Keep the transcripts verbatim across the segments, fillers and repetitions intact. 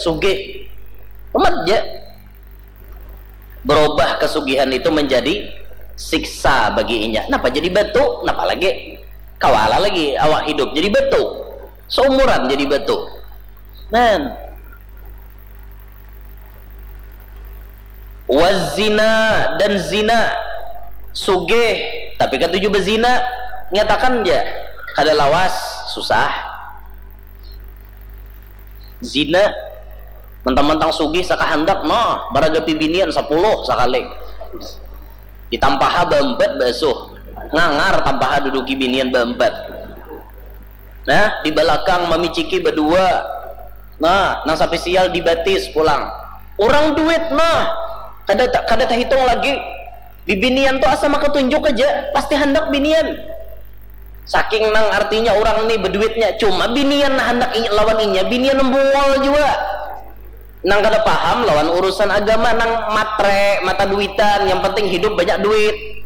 sugih. Umat ja. Berubah kesugihan itu menjadi siksa bagi inya. Napa jadi batu? Napa lagi? Kawala lagi awak hidup jadi batu. Seumuran jadi batu. Nah. Wazina dan zina. Sugih, tapi katuju bezina. Nyatakan ja. Kada lawas, susah. Zina. Mentang-mentang sugih sakahandak, noh, baragapi binian sapuluh sakali. Ditampaha baempat basuh. Ngangar tampaha duduki binian baempat. Nah, di balakang mamiciki badua. Nah, nang sapisial di batis pulang. Urang duit, nah. Kada ta-, kada tahitung lagi. Bibinian tu asa maka tunjuk aja, pasti handak binian. Saking nang artinya urang ni beduitnya, cuma binian handak i-, lawan inya, binian bungol jua. Nang kada paham lawan urusan agama, nang matre, mata duitan, yang penting hidup banyak duit.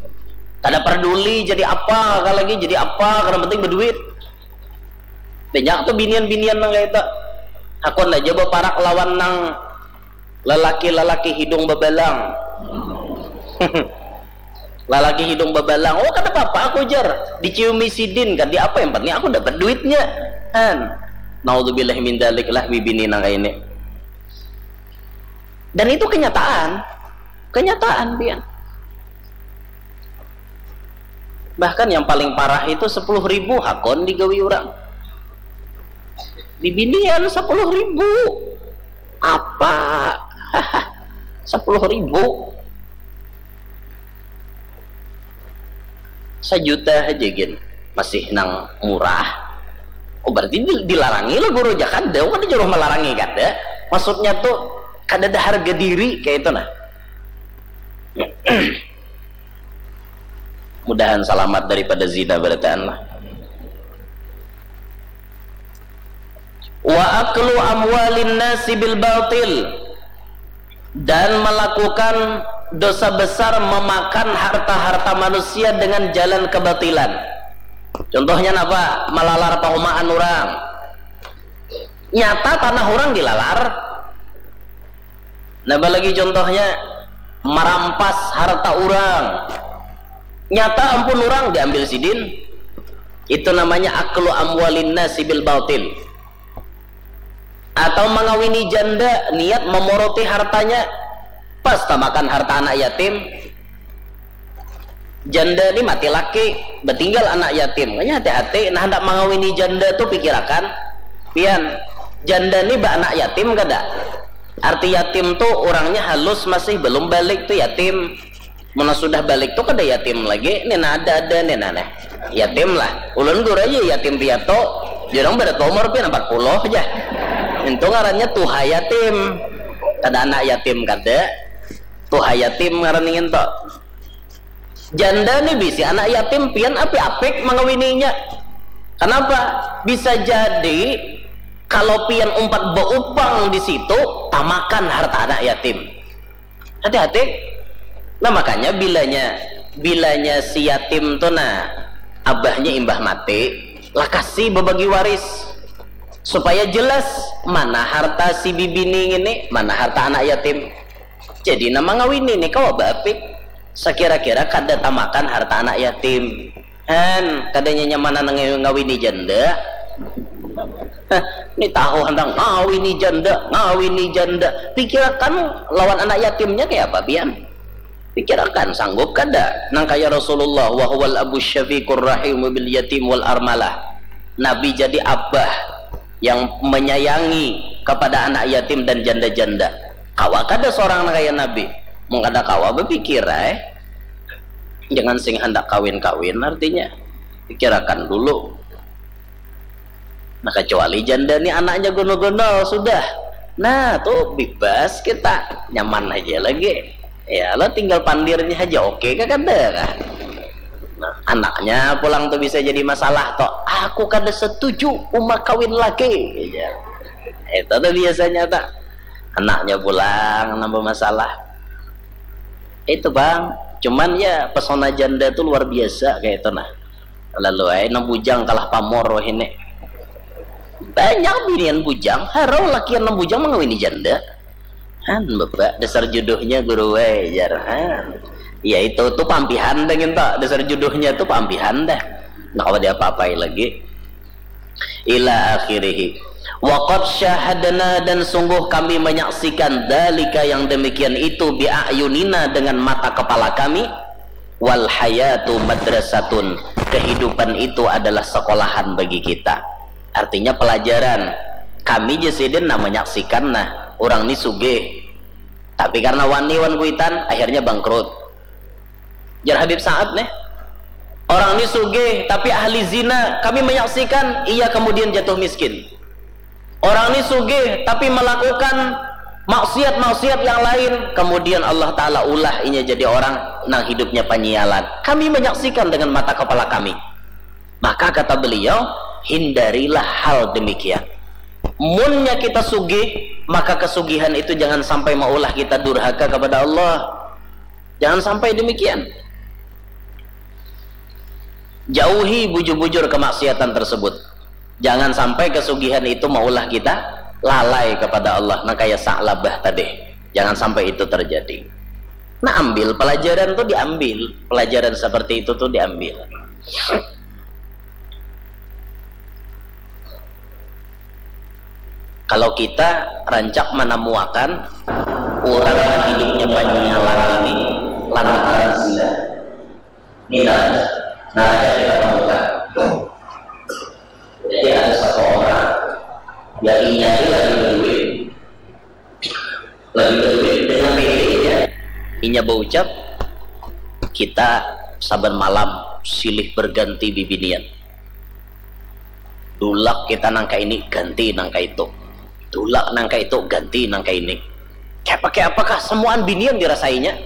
Kada perduli jadi apa, ka lagi jadi apa, kada penting beduit. Banyak tu binian-binian nang kaya itu. Hakun aja baparak lawan nang lelaki-lelaki hidung bebalang. Lalaki hidung bebalang, "Oh, kada apa-apa," aku jar. Diciumi sidin kan, di apa, yang penting aku dapat duitnya. Han. Naudzubillah min dzalik lah, bibini nang kaya ini. Dan itu kenyataan. Kenyataan, pian. Bahkan yang paling parah itu sepuluh ribu hakun digawi orang. Bibinian sepuluh ribu. Apa? Sepuluh ribu. Sajuta aja gin. Masih nang murah. Oh, berarti di-, dilarangi lah guru aja. Kada, kada jauh melarangi, kada. Maksudnya tuh, kada ada harga diri kayak itu nah. Mudahan salamat daripada zina barataan lah. Wa aklu amwalin nasi bil batil, dan melakukan dosa besar memakan harta-harta manusia dengan jalan kebatilan. Contohnya napa? Malalar pahumaan orang. Nyata tanah orang dilalar. Napa lagi contohnya? Marampas harta orang. Nyata ampun orang diambil sidin. Itu namanya aklu amwalin nasi bil batil. Atau mengawini janda, niat memoroti hartanya, pas tamakan harta anak yatim. Janda ni mati laki, betinggal anak yatim. Makanya hati-hati, nah, hendak mengawini janda tu pikirakan, pian, janda ni baanak yatim kada? Arti yatim tu orangnya halus, masih belum balik tu yatim. Mana sudah balik tu kada yatim lagi, nina ada-ada nina neh. Yatim lah. Ulun guru aja yatim piatu, jurang pada umur pian empat puluh aja. Itu ngarannya tuha yatim. Kada anak yatim kada. Tuha yatim ngaran ingin tu. Janda ni bisi anak yatim, pian apik-apik mengawininya. Kenapa? Bisa jadi kalau pian umpat beupang di situ, tamakan harta anak yatim. Hati-hati. Nah, makanya bilanya, bilanya si yatim tu nah, abahnya imbah mati, lakasi bebagi waris. Supaya jelas mana harta si bibini ini, mana harta anak yatim. Jadi nama ngawini ni kawa baapik. Sakira-kira kada tamakan harta anak yatim. Han, kadanya nyamanan ngawini janda. Hah, ni tahu handak ngawini janda, ngawini janda. Pikirakan lawan anak yatimnya kaya apa pian? Pikirakan, sanggup kada? Nang kaya Rasulullah, wa huwal abu syafiqur rahimu bil yatim wal armalah. Nabi jadi abah yang menyayangi kepada anak yatim dan janda-janda. Kawa kada seorang nang kaya Nabi? Mun kada kawa, bepikir ai. Jangan sing handak kawin-kawin, artinya pikirakan dulu. Nah, kecuali janda ni anaknya gonol-gonol sudah, nah, tu bebas kita, nyaman aja lagi. Ya lo, tinggal pandirnya aja, oke kah kada kah? Nah, anaknya pulang tu bisa jadi masalah toh. Aku kada setuju uma kawin lagi, ya. Itu tuh biasanya tak. Anaknya pulang nambah masalah. Itu, Bang. Cuman ya, pesona janda tuh luar biasa kayak itu nah. Lalu ai nang bujang kalah pamor wah ini. Banyak binian bujang, harau lakian nang bujang mangawini janda. Han, bapak, dasar jodohnya guru, weh, jar. Han. Ya itu, tu pampihan dah nginta, dasar jodohnya tu pampihan dah. Nah, kalau dia apa-apai lagi. Ila akhirih. Waqad syahadna, dan sungguh kami menyaksikan, dalika, yang demikian itu, biayunina, dengan mata kepala kami. Wal hayatu madrasatun, kehidupan itu adalah sekolahan bagi kita. Artinya pelajaran. Kami je sidin nah menyaksikan nah, orang ni sugih. Tapi karena wani wan kuitan, akhirnya bangkrut. Jar Habib Sa'ad nih. Orang ni sugih, tapi ahli zina, kami menyaksikan, ia kemudian jatuh miskin. Orang ni sugih, tapi melakukan maksiat-maksiat yang lain, kemudian Allah Ta'ala ulah inya jadi orang nang hidupnya panyialan. Kami menyaksikan dengan mata kepala kami. Maka kata beliau, hindarilah hal demikian. Munnya kita sugih, maka kesugihan itu jangan sampai maulah kita durhaka kepada Allah. Jangan sampai demikian. Jauhi bujur-bujur kemaksiatan tersebut. Jangan sampai kesugihan itu maulah kita lalai kepada Allah. Nah, kayak Sa'labah tadi. Jangan sampai itu terjadi. Nah, ambil pelajaran tuh, diambil. Pelajaran seperti itu tuh diambil. Kalau kita rancak menemuakan orang yang hidupnya panyalan ini lantaran zina. Misalnya, nah, kita temukan. Jadi ada satu orang yang inya ini lagi berduit, lagi berduit dengan bininya. Inya berucap, kita saban malam silih berganti bibinian. Dulak kita nangka ini, ganti nangka itu. Dulak nangka itu, ganti nangka ini. Kayak pakai apakah semuaan binian dirasainya?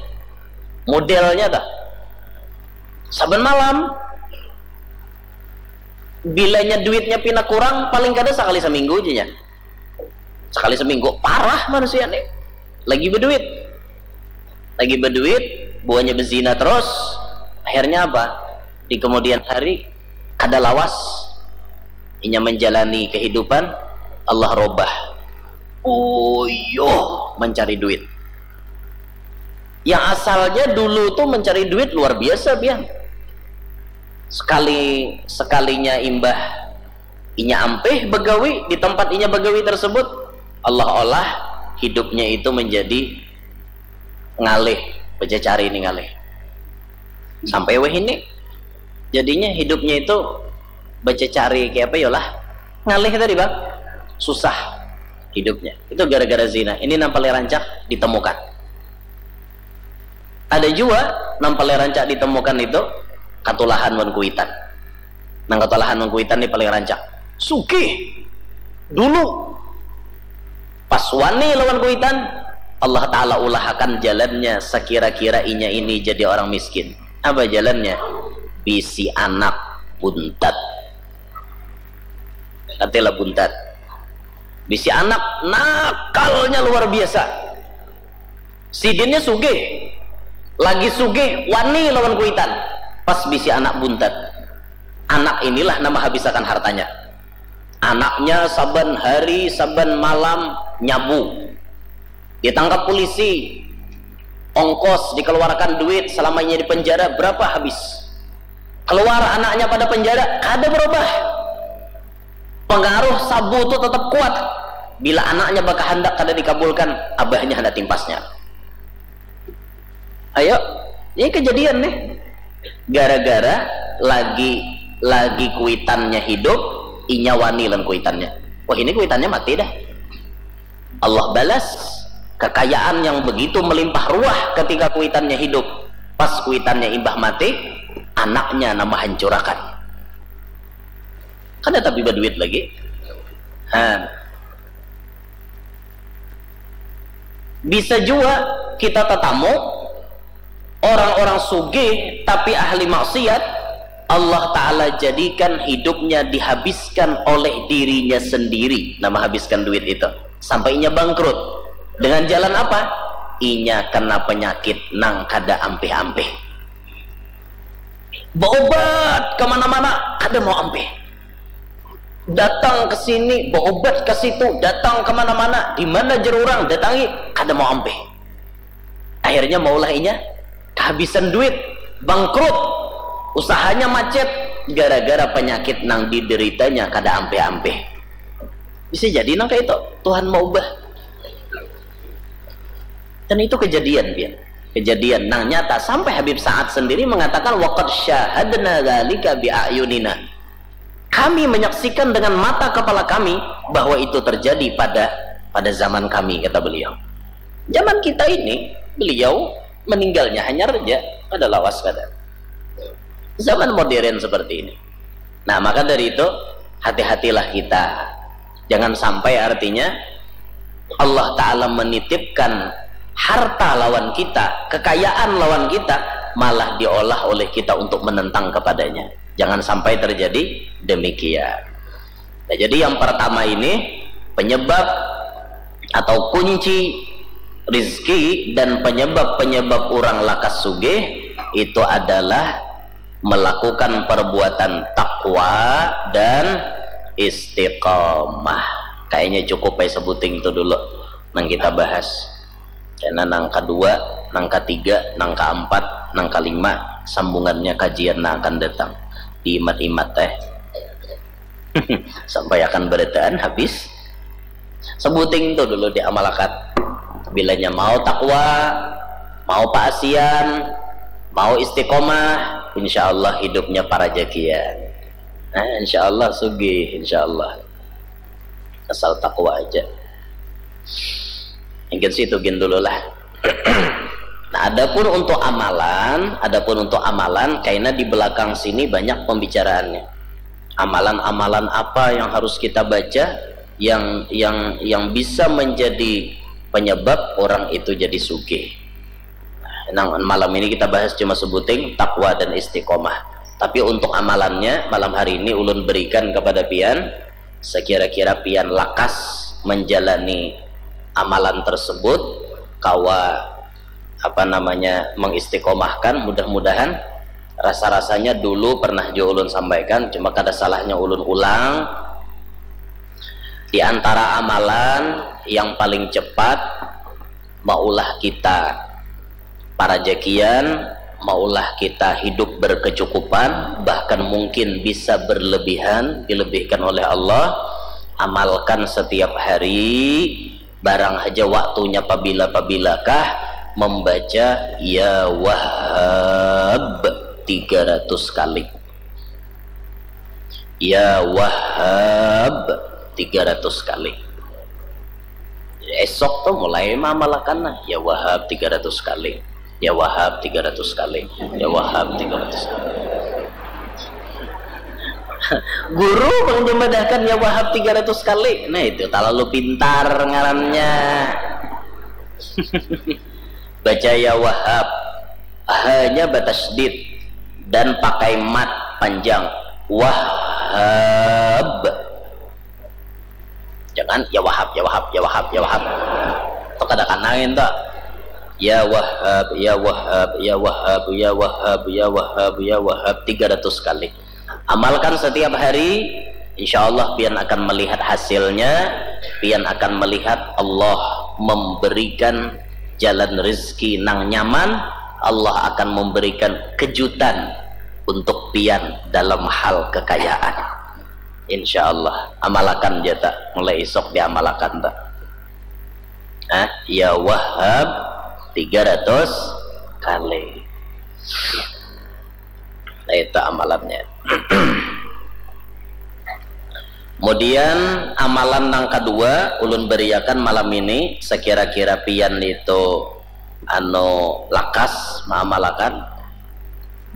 Modelnya dah. Saban malam, bilanya duitnya pina kurang, paling kada sekali seminggu aja nya. Sekali seminggu, parah manusia nih. Lagi berduit. Lagi berduit, buahnya berzina terus. Akhirnya apa? Di kemudian hari, kada lawas inya menjalani kehidupan, Allah robah. Uyuh mencari duit. Yang asalnya dulu tuh mencari duit luar biasa, pian. Sekali sekalinya imbah inya ampih begawi di tempat inya begawi tersebut, Allah olah hidupnya itu menjadi ngalih, bececari ini ngalih. Sampai weh ini. Jadinya hidupnya itu bececari kayak apa yolah? Ngalih tadi, Bang. Susah hidupnya. Itu gara-gara zina. Ini nang paling rancak ditemukan. Ada jua nang paling rancak ditemukan itu katulahan wan kuitan. Nang katulahan wan kuitan ni paling rancak. Sugih. Dulu. Pas wani lawan kuitan, Allah Ta'ala ulahakan jalannya sekira-kira inya ini jadi orang miskin. Apa jalannya? Bisi anak buntat. Katilah buntat. Bisi anak nakalnya luar biasa. Sidinnya sugih. Lagi sugih, wani lawan kuitan. Pas bisi anak buntat. Anak inilah nama habisakan hartanya. Anaknya saban hari, saban malam nyabu. Ditangkap polisi, ongkos dikeluarkan duit selamanya di penjara berapa habis. Keluar anaknya pada penjara, kada berubah. Pengaruh sabu tu tetap kuat. Bila anaknya bakahandak kada dikabulkan, abahnya hendak timpasnya. Ayo, ini kejadian nih. Gara-gara lagi lagi kuitannya hidup, inya wani lan kuitannya. Wah, ini kuitannya mati dah. Allah balas kekayaan yang begitu melimpah ruah ketika kuitannya hidup. Pas kuitannya imbah mati, anaknya nama hancurakan. Kada tapi berduit lagi. Ha. Bisa juga kita tetamu orang-orang sugih tapi ahli maksiat, Allah Ta'ala jadikan hidupnya dihabiskan oleh dirinya sendiri. Nama habiskan duit itu. Sampai inya bangkrut. Dengan jalan apa? Inya kena penyakit nang kada ampih-ampih. Beobat kemana-mana, kada mau ampih. Datang ke sini, berobat ke situ, datang kemana-mana, di mana jar urang datangi, kada mau ampih. Akhirnya maulah inya kehabisan duit, bangkrut, usahanya macet gara-gara penyakit nang dideritanya kada ampih-ampih. Bisa jadi nang kayak itu Tuhan mau ubah. Dan itu kejadian, pian. Kejadian nang nyata, sampai Habib Sa'ad sendiri mengatakan, "Waqad syahadna dzalika bi a'yunina." Kami menyaksikan dengan mata kepala kami bahwa itu terjadi pada pada zaman kami, kata beliau. Zaman kita ini, beliau meninggalnya hanya saja pada lawas kada. Zaman modern seperti ini. Nah, maka dari itu, hati-hatilah kita. Jangan sampai, artinya, Allah Ta'ala menitipkan harta lawan kita, kekayaan lawan kita, malah diolah oleh kita untuk menentang kepadanya. Jangan sampai terjadi demikian. Nah, jadi yang pertama ini, penyebab atau kunci rizki dan penyebab-penyebab orang lakas sugih itu adalah melakukan perbuatan takwa dan istiqomah. Kayaknya cukup ya sebuting itu dulu nang kita bahas. Karena nang kedua, nang ketiga, nang keempat, nang kelima, sambungannya kajian nang akan datang. Diimat-imat teh. Sampai akan berataan habis. Sebuting tu dulu diamalakan. Bilanya mau takwa, mau paasian, mau istiqomah, insya Allah hidupnya parajakian. Nah, insya Allah sugih, insya Allah. Asal takwa aja. Mungkin situ gin dulu lah. Nah, adapun untuk amalan, adapun untuk amalan, karena di belakang sini banyak pembicaraannya. Amalan-amalan apa yang harus kita baca, yang yang yang bisa menjadi penyebab orang itu jadi sugih. Nah, malam ini kita bahas cuma sebuting takwa dan istiqomah. Tapi untuk amalannya, malam hari ini ulun berikan kepada pian, sekira-kira pian lakas menjalani amalan tersebut, kawa, apa namanya, mengistiqomahkan, mudah-mudahan. Rasa-rasanya dulu pernah jua ulun sampaikan, cuma kada salahnya ulun ulang. Di antara amalan yang paling cepat maulah kita parajakian, maulah kita hidup berkecukupan, bahkan mungkin bisa berlebihan, dilebihkan oleh Allah. Amalkan setiap hari, barang haja waktunya pabila-pabilakah, membaca Ya Wahhab tiga ratus kali. Ya Wahhab tiga ratus kali. Esok tu mulai mamalakan lah. Ya Wahhab tiga ratus kali. Ya Wahhab tiga ratus kali. Ya Wahhab tiga ratus kali. Guru pang dimadahkan Ya Wahhab tiga ratus kali. Nah, itu terlalu pintar ngarannya. Baca Ya Wahhab, hanya batasydid dan pakai mad panjang. Wahhab. Jangan Ya Wahhab, Ya Wahhab, Ya Wahhab, Ya Wahhab. Itu kada kanangin tu. Ya Wahhab, Ya Wahhab, Ya Wahhab, Ya Wahhab, Ya Wahhab, Ya Wahhab tiga ratus kali. Amalkan setiap hari, insya Allah pian akan melihat hasilnya, pian akan melihat Allah memberikan jalan rezeki nang nyaman, Allah akan memberikan kejutan untuk pian dalam hal kekayaan. Insya Allah, amalakan jata, mulai isok diamalakan ta. Nah, Ya Wahhab tiga ratus kali. Nah, itu amalannya. Kemudian amalan nang kedua ulun beriakan malam ini, sekira-kira pian itu anu lakas maamalakan,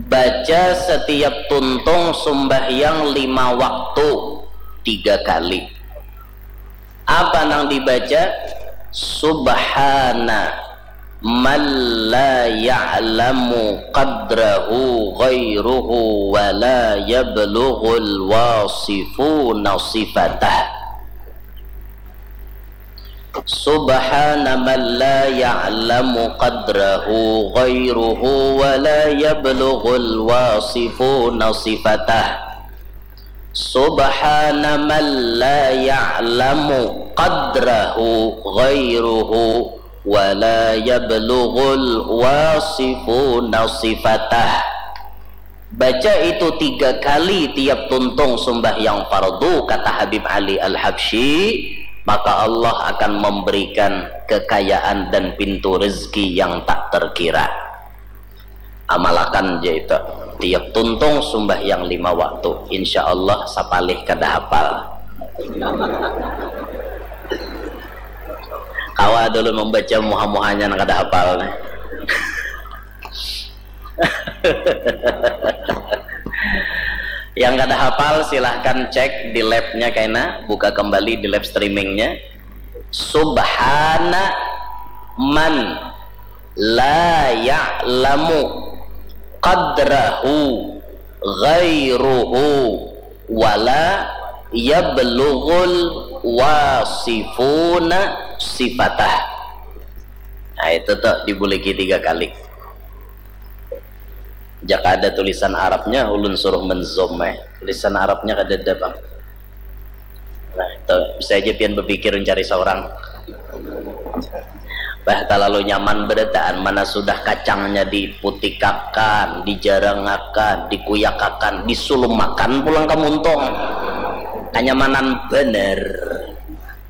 baca setiap tuntung sumbahyang lima waktu tiga kali. Apa nang dibaca? Subhana man la ya'lamu qadrahu ghairuhu wa la yablughul wasifuna sifatah. Subhana man la ya'lamu qadrahu ghairuhu wa la yablughul wasifuna sifatah. Subhana man la ya'lamu qadrahu ghairuhu wa la yablughul wasifuna sifatah. Baca itu tiga kali tiap tuntung sumbahyang fardu, kata Habib Ali Al-Habsyi, maka Allah akan memberikan kekayaan dan pintu rezeki yang tak terkira. Amalakan ja itu. Tiap tuntung sumbahyang lima waktu, insya Allah sapalih kada hapal. Kawa dulu membaca muha-muhanya nang kada hapal nih. Yang kada hafal, silahkan cek di live-nya kaina, buka kembali di live streaming-nya. Subhana man la ya'lamu qadrahu ghairuhu wala yablughul wasifuna sifatah. Nah, itu tuh dibuliki tiga kali. Jaka ada tulisan Arabnya, ulun suruh menzoom eh. Tulisan Arabnya kada ada, Bang. Nah, itu bisa aja pian berpikir mencari seorang. Bah, terlalu nyaman berataan, mana sudah kacangnya diputikakan, dijarangakan, dikuyakakan, disulumakan pulang ke muntung. Kenyamanan bener.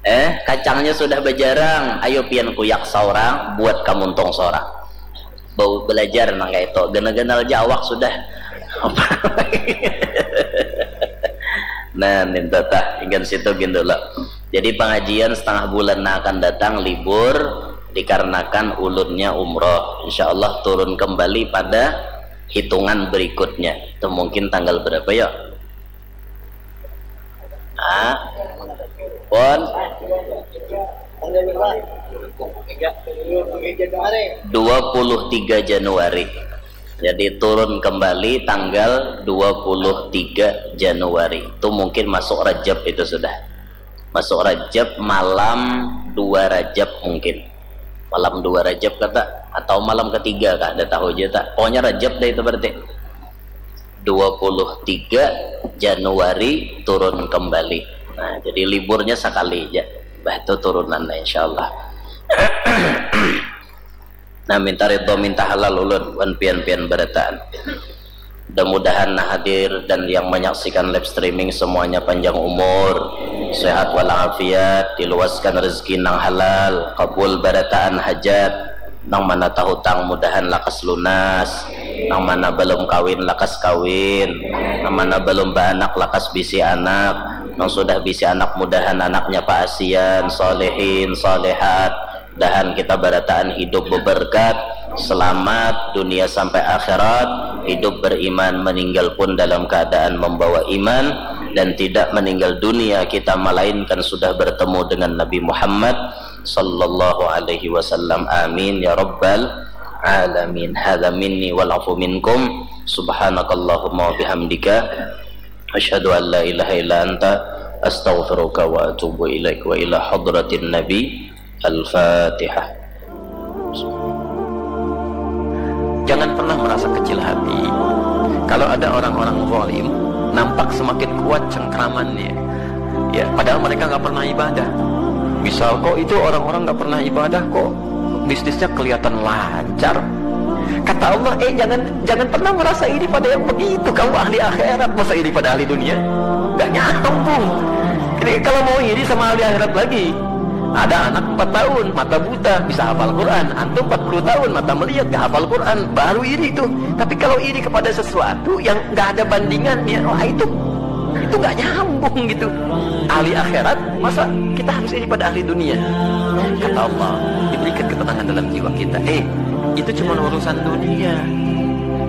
Eh, kacangnya sudah berjarang, ayo pian kuyak seorang, buat kamuntung seorang. Bau belajar nang kayak itu, genal-genal jawak sudah. Nah, ninta tah, ingin situ gin dulu. Jadi pengajian setengah bulan yang akan datang libur dikarenakan ulunnya umroh. Insya Allah turun kembali pada hitungan berikutnya. Itu mungkin tanggal berapa ya? Ah, pon dua puluh tiga Januari. Jadi turun kembali tanggal dua puluh tiga Januari. Itu mungkin masuk Rajab itu sudah. Masuk Rajab malam dua Rajab mungkin. Malam dua Rajab kata, atau malam ketiga kah, ada tahu aja tak. Pokoknya Rajab deh itu berarti. Dua puluh tiga Januari turun kembali. Nah, jadi liburnya sekali aja. Bah, itu turunan lah, insya Allah. Nah, minta ridho, minta halal ulun, wan pian-pian berataan. Mudah-mudahan nah hadir dan yang menyaksikan live streaming semuanya panjang umur, sehat walafiat, diluaskan rezeki nang halal, kabul barataan hajat, nang mana tahutang mudahan lakas lunas, nang mana balum kawin lakas kawin, nang mana balum baanak lakas bisi anak, nang sudah bisi anak mudahan anaknya paasian, solehin, solehat, mudahan kita barataan hidup beberkat, selamat dunia sampai akhirat, hidup beriman, meninggal pun dalam keadaan membawa iman, dan tidak meninggal dunia kita melainkan sudah bertemu dengan Nabi Muhammad sallallahu alaihi wasallam. Amin ya rabbal alamin. Hadza minni wal afu minkum. Subhanakallahumma wa bihamdika, asyhadu an la ilaha illa anta, astaghfiruka wa atubu ilaik. Wa ila hadratin nabi. Al-Fatihah. Jangan pernah merasa kecil hati. Kalau ada orang-orang zalim, nampak semakin kuat cengkramannya. Ya, padahal mereka nggak pernah ibadah. Misal, kok itu orang-orang nggak pernah ibadah, kok bisnisnya kelihatan lancar? Kata Allah, eh, jangan jangan pernah merasa iri pada yang begitu. Kamu ahli akhirat, masa iri pada ahli dunia? Nggak nyambung. Jadi kalau mau iri sama ahli akhirat lagi, ada anak empat tahun, mata buta, bisa hafal Quran. Antum empat puluh tahun, mata melihat, gak hafal Quran, baru iri itu. Tapi kalau iri kepada sesuatu yang nggak ada bandingannya, wah, itu itu nggak nyambung gitu. Ahli akhirat, masa kita harus iri pada ahli dunia? Kata Allah, diberikan ketenangan dalam jiwa kita. Eh, itu cuma urusan dunia.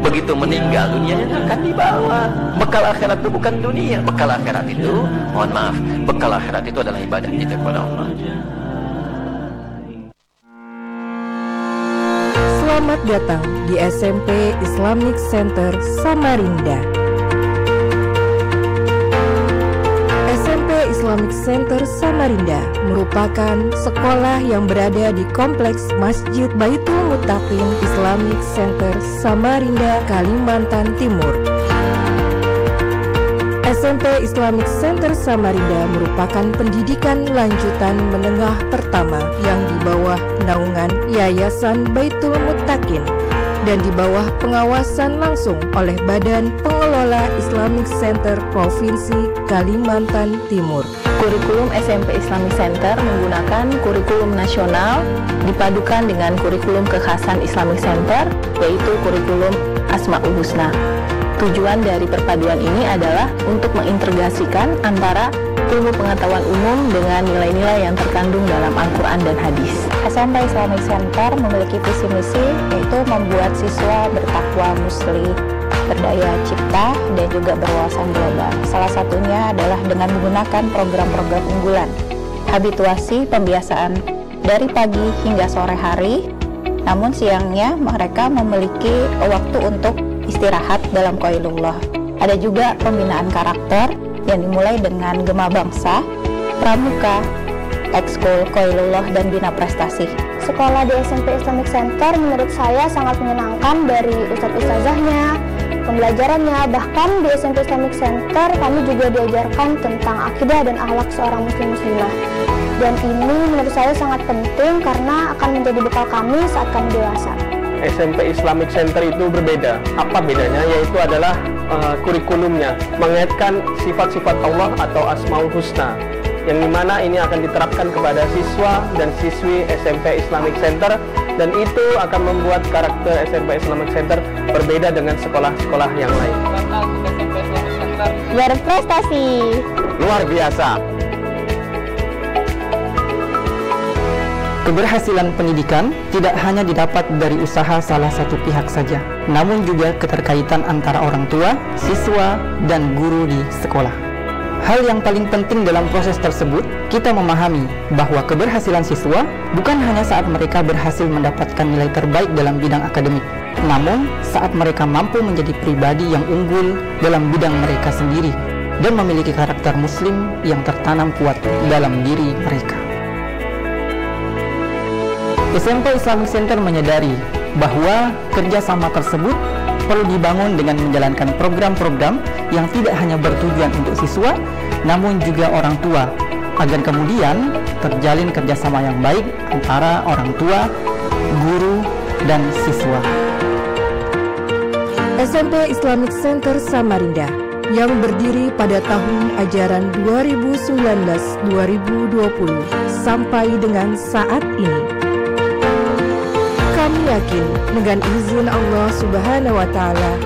Begitu meninggal, dunianya akan dibawa. Bekal akhirat itu bukan dunia. Bekal akhirat itu, mohon maaf, bekal akhirat itu adalah ibadah kita kepada Allah. Selamat datang di S M P Islamic Center Samarinda. S M P Islamic Center Samarinda merupakan sekolah yang berada di Kompleks Masjid Baitul Mutaqin Islamic Center Samarinda, Kalimantan Timur. S M P Islamic Center Samarinda merupakan pendidikan lanjutan menengah pertama yang di bawah naungan Yayasan Baitul Muttaqin dan di bawah pengawasan langsung oleh Badan Pengelola Islamic Center Provinsi Kalimantan Timur. Kurikulum S M P Islamic Center menggunakan kurikulum nasional dipadukan dengan kurikulum kekhasan Islamic Center, yaitu kurikulum Asmaul Husna. Tujuan dari perpaduan ini adalah untuk mengintegrasikan antara ilmu pengetahuan umum dengan nilai-nilai yang terkandung dalam Al-Quran dan hadis. S M P Islamic Center memiliki visi misi, yaitu membuat siswa bertakwa, muslih, berdaya cipta, dan juga berwawasan global. Salah satunya adalah dengan menggunakan program-program unggulan, habituasi pembiasaan dari pagi hingga sore hari, namun siangnya mereka memiliki waktu untuk istirahat dalam Qailullah. Ada juga pembinaan karakter yang dimulai dengan Gema Bangsa, Pramuka, Ekskul, Qailullah, dan Bina Prestasi. Sekolah di S M P Islamic Center menurut saya sangat menyenangkan, dari ustadz ustazahnya, pembelajarannya, bahkan di S M P Islamic Center kami juga diajarkan tentang akidah dan akhlak seorang muslim muslimah. Dan ini menurut saya sangat penting karena akan menjadi bekal kami saat kami dewasa. S M P Islamic Center itu berbeda. Apa bedanya? Yaitu adalah eh, kurikulumnya mengaitkan sifat-sifat Allah atau Asmaul Husna, yang dimana ini akan diterapkan kepada siswa dan siswi S M P Islamic Center, dan itu akan membuat karakter S M P Islamic Center berbeda dengan sekolah-sekolah yang lain. Berprestasi. Luar biasa. Keberhasilan pendidikan tidak hanya didapat dari usaha salah satu pihak saja, namun juga keterkaitan antara orang tua, siswa, dan guru di sekolah. Hal yang paling penting dalam proses tersebut, kita memahami bahwa keberhasilan siswa bukan hanya saat mereka berhasil mendapatkan nilai terbaik dalam bidang akademik, namun saat mereka mampu menjadi pribadi yang unggul dalam bidang mereka sendiri dan memiliki karakter muslim yang tertanam kuat dalam diri mereka. S M P Islamic Center menyadari bahwa kerjasama tersebut perlu dibangun dengan menjalankan program-program yang tidak hanya bertujuan untuk siswa, namun juga orang tua, agar kemudian terjalin kerjasama yang baik antara orang tua, guru, dan siswa. S M P Islamic Center Samarinda yang berdiri pada tahun ajaran dua ribu sembilan belas dua ribu dua puluh sampai dengan saat ini. Kami yakin dengan izin Allah Subhanahu wa Ta'ala,